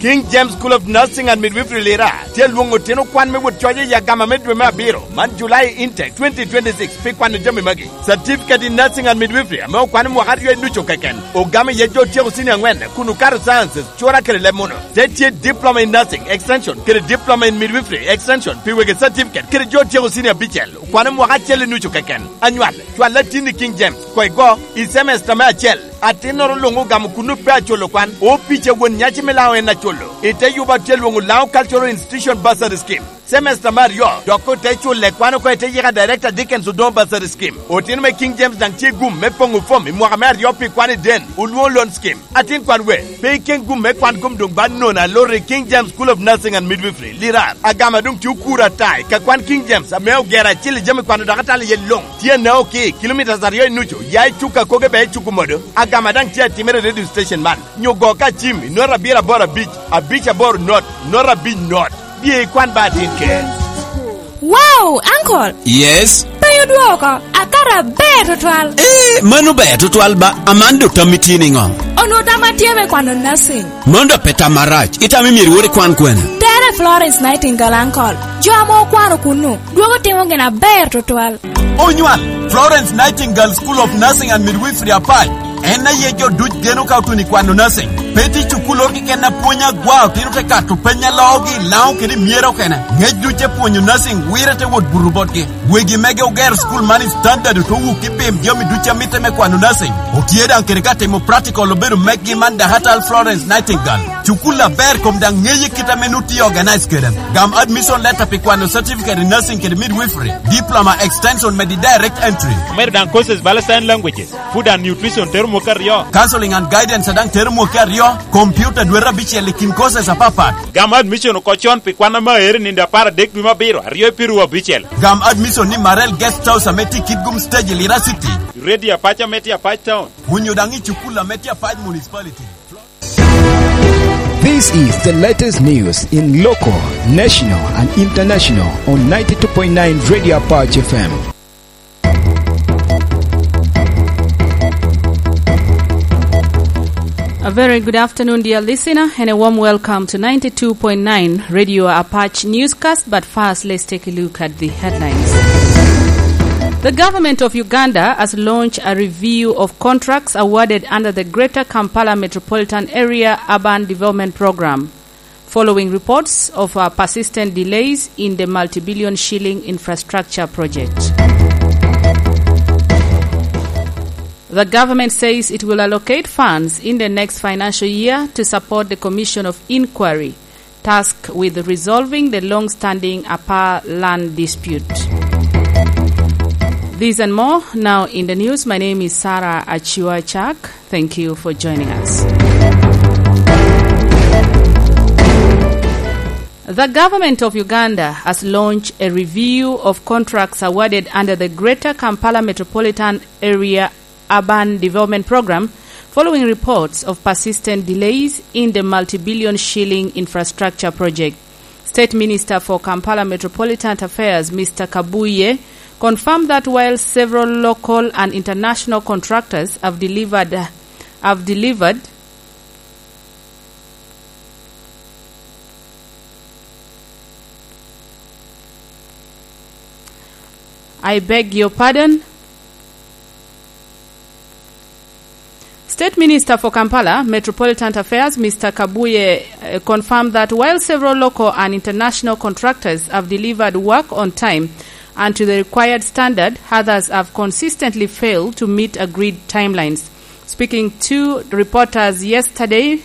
King James School of Nursing and Midwifery Lira tye alwoŋo otino kwan me wot coc i agama me dwe me abiro, man July intake twenty twenty-six, pi kwano jami magi. Certificate in Nursing and Midwifery ame okwane mwaka aryo i nucu keken, ogamo iye jo otyeko senior angwen kun okato sciences, cura kede leb muno. Te tye Diploma in Nursing Extension kede Diploma in Midwifery Extension pi wegi certificate kede jo otyeko senior abicel, okwane mwaka acel i nucu keken. Anywal, cwal atin i King James, koigo, i semester me acel. Atinnoro luŋ ogamo kunnu pe aculo kwan, opic a won nyaci me Laŋo en aculo. I te yubo atye lwoŋo Laŋo Cultural Institution Bursary Scheme. Semester me aryo, dok ote culle kwan oko i te yika Director Dickens Odongo Bursary Scheme. Otino me King James daŋ tye gum me poŋo fom i mwaka me aryo pi kwan i den, olwoŋo loan scheme. Atin kwan we, pe iken gum me kwan kom doŋ ba nono alor i King James School of Nursing and Midwifery, Lirar. Agama doŋ tye okuro ata i ka kwan King James ame ogero acil i jami kwano dok atalo iye luŋ. Tye anao ki kilometres aryo i nucu, ya i cuk a koge bea i cuk omodo. Agama daŋ tye atimere i radio station man. Nyo go ka cim i not abiro aboro abic, abic aboro not, not abic not. Bye ikwan ba atin ker. Wow, uncle! Yes? Pe odwoko, akato aber tutwal. Eh, mano ber tutwal ba, aman dok tam itye niŋo? Onwo tam atye me kwano nursing. Mano dok pe tam marac, itam imyero iwot ikwan kwene? Tere Florence Nightingale, uncle. Jo ame okwano kunnu, dwogo timo gin aber tutwal. Onywal, Florence Nightingale School of Nursing and Midwifery Apac. En aye jo duc geno ka otuno i kwano nursing. Pe tye cukul oro keken a pwony agwa, otino te kato peny a loogi i Laŋo kede i Myero kene. Ngec duc te pwonyo nursing, wire te wot buto botgi. Wegi mege ogero cukul man i standard, ote wuki pim jami duc a mitte me kwano nursing. Otye daŋ kede ka timo practical obedo meggi man Dahatal Florence Nightingale. Cukul aber kom daŋ ŋeye kit ame nut tye organize kede. Gam admission letter pi kwano certificate in nursing kede midwifery, diploma extension medi direct entry. Omedo daŋ courses bala sign languages, food and nutrition tero mwaka aryo. Counseling and guidance daŋ tero mwaka aryo, computer dwete abicel i kin courses apapat. Gam admission oko con pi kwan ame aere nino apar adek dwe me abiro, aryo i piru abicel. Gam admission ni Marel Guest House ame tye i Kitgum Stage i Lira City. Radio Apac ame tye Apac Town. Onyo daŋ i cukul ame tye Apac Municipality. This is the latest news in local, national, and international on ninety-two point nine Radio Apache F M. A very good afternoon, dear listener, and a warm welcome to ninety-two point nine Radio Apache Newscast. But first, let's take a look at the headlines. The government of Uganda has launched a review of contracts awarded under the Greater Kampala Metropolitan Area Urban Development Program, following reports of, uh, persistent delays in the multi-billion shilling infrastructure project. The government says it will allocate funds in the next financial year to support the Commission of Inquiry tasked with resolving the long-standing Apaa land dispute. These and more now in the news. My name is Sarah Achiwa Chak. Thank you for joining us. The government of Uganda has launched a review of contracts awarded under the Greater Kampala Metropolitan Area Urban Development Program following reports of persistent delays in the multi-billion shilling infrastructure project. State Minister for Kampala Metropolitan Affairs, Mister Kabuye, confirmed that while several local and international contractors have delivered, have delivered, I beg your pardon. State Minister for Kampala Metropolitan Affairs, Mister Kabuye, uh, confirmed that while several local and international contractors have delivered work on time and to the required standard, others have consistently failed to meet agreed timelines. Speaking to reporters yesterday,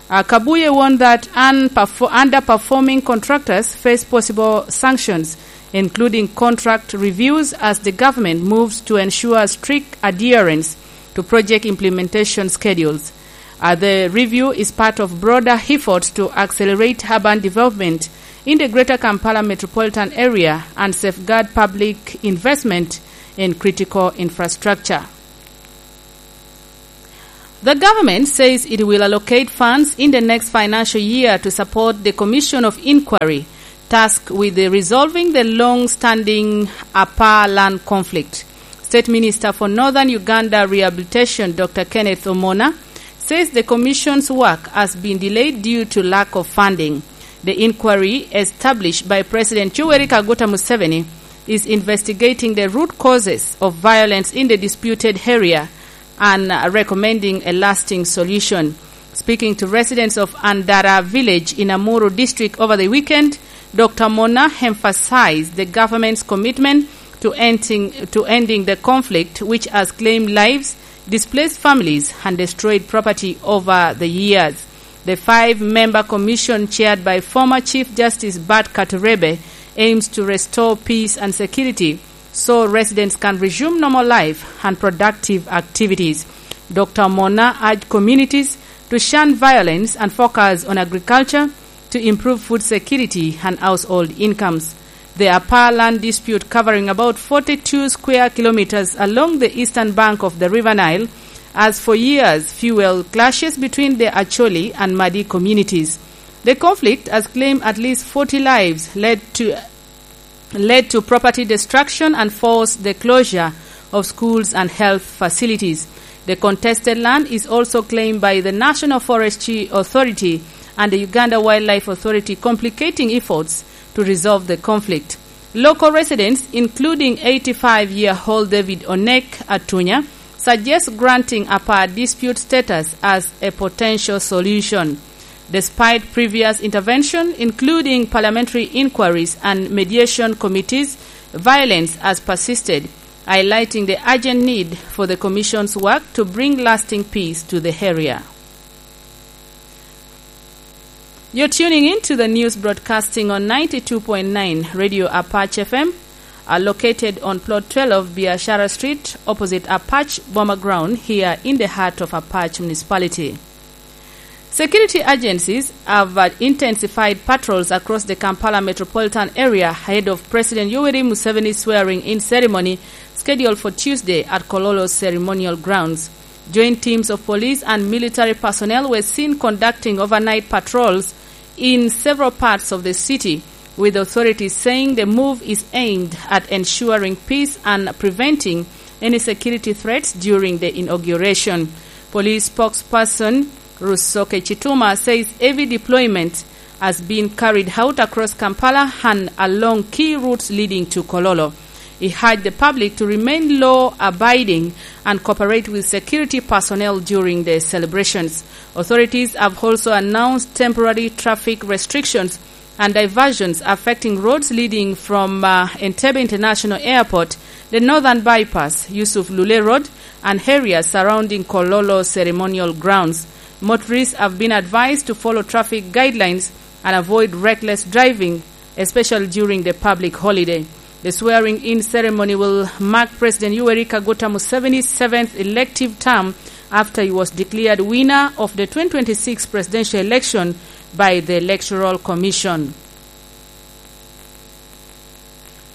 uh, Kabuye warned that unperfo-, underperforming contractors face possible sanctions, including contract reviews, as the government moves to ensure strict adherence to project implementation schedules. Uh, the review is part of broader efforts to accelerate urban development in the Greater Kampala metropolitan area and safeguard public investment in critical infrastructure. The government says it will allocate funds in the next financial year to support the Commission of Inquiry tasked with the resolving the long-standing Apaa land conflict. State Minister for Northern Uganda Rehabilitation, Doctor Kenneth Omona, says the commission's work has been delayed due to lack of funding. The inquiry, established by President Yoweri Kaguta Museveni, is investigating the root causes of violence in the disputed area and, uh, recommending a lasting solution. Speaking to residents of Andara village in Amuru district over the weekend, Doctor Mona emphasized the government's commitment to ending, to ending the conflict, which has claimed lives, displaced families, and destroyed property over the years. The five-member commission, chaired by former Chief Justice Bart Katurebe, aims to restore peace and security so residents can resume normal life and productive activities. Doctor Mona urged communities to shun violence and focus on agriculture to improve food security and household incomes. The Apar land dispute, covering about forty-two square kilometers along the eastern bank of the River Nile, has for years fueled clashes between the Acholi and Madi communities. The conflict has claimed at least forty lives, led to, led to property destruction, and forced the closure of schools and health facilities. The contested land is also claimed by the National Forestry Authority and the Uganda Wildlife Authority, complicating efforts to resolve the conflict. Local residents, including eighty-five-year-old David Onek Atunya, suggest granting Apar dispute status as a potential solution. Despite previous intervention, including parliamentary inquiries and mediation committees, violence has persisted, highlighting the urgent need for the Commission's work to bring lasting peace to the area. You're tuning in to the news broadcasting on ninety-two point nine Radio Apache F M, uh, located on Plot twelve, Biashara Street, opposite Apache Boma Ground, here in the heart of Apache Municipality. Security agencies have, uh, intensified patrols across the Kampala metropolitan area ahead of President Yoweri Museveni's swearing-in ceremony, scheduled for Tuesday at Kololo Ceremonial Grounds. Joint teams of police and military personnel were seen conducting overnight patrols in several parts of the city, with authorities saying the move is aimed at ensuring peace and preventing any security threats during the inauguration. Police spokesperson Rusoke Chituma says heavy deployment has been carried out across Kampala and along key routes leading to Kololo. He urged the public to remain law-abiding and cooperate with security personnel during the celebrations. Authorities have also announced temporary traffic restrictions and diversions affecting roads leading from, uh, Entebbe International Airport, the Northern Bypass, Yusuf Lule Road, and areas surrounding Kololo Ceremonial Grounds. Motorists have been advised to follow traffic guidelines and avoid reckless driving, especially during the public holiday. The swearing-in ceremony will mark President Yoweri Kaguta Museveni's seventh elective term after he was declared winner of the twenty twenty-six presidential election by the Electoral Commission.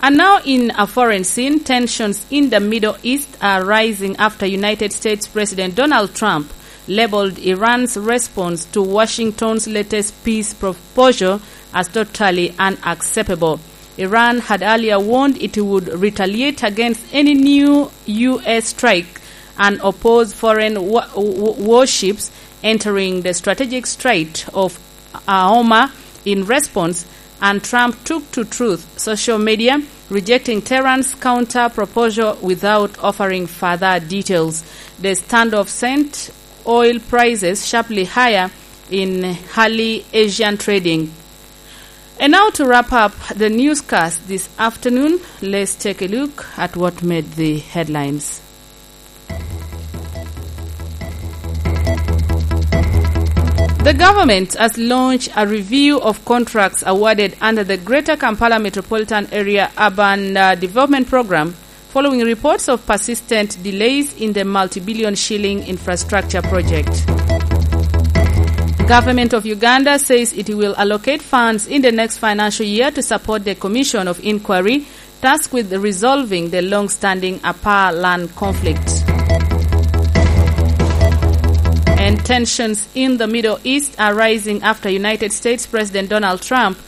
And now, in a foreign scene, tensions in the Middle East are rising after United States President Donald Trump labeled Iran's response to Washington's latest peace proposal as totally unacceptable. Iran had earlier warned it would retaliate against any new U S strike and oppose foreign wa-, w-, w-, warships entering the strategic Strait of Hormuz in response, and Trump took to Truth social media, rejecting Tehran's counter proposal without offering further details. The standoff sent oil prices sharply higher in early Asian trading. And now, to wrap up the newscast this afternoon, let's take a look at what made the headlines. The government has launched a review of contracts awarded under the Greater Kampala Metropolitan Area Urban, uh, Development Program, following reports of persistent delays in the multi-billion shilling infrastructure project. Government of Uganda says it will allocate funds in the next financial year to support the Commission of Inquiry tasked with resolving the long-standing Apar land conflict. And tensions in the Middle East are rising after United States President Donald Trump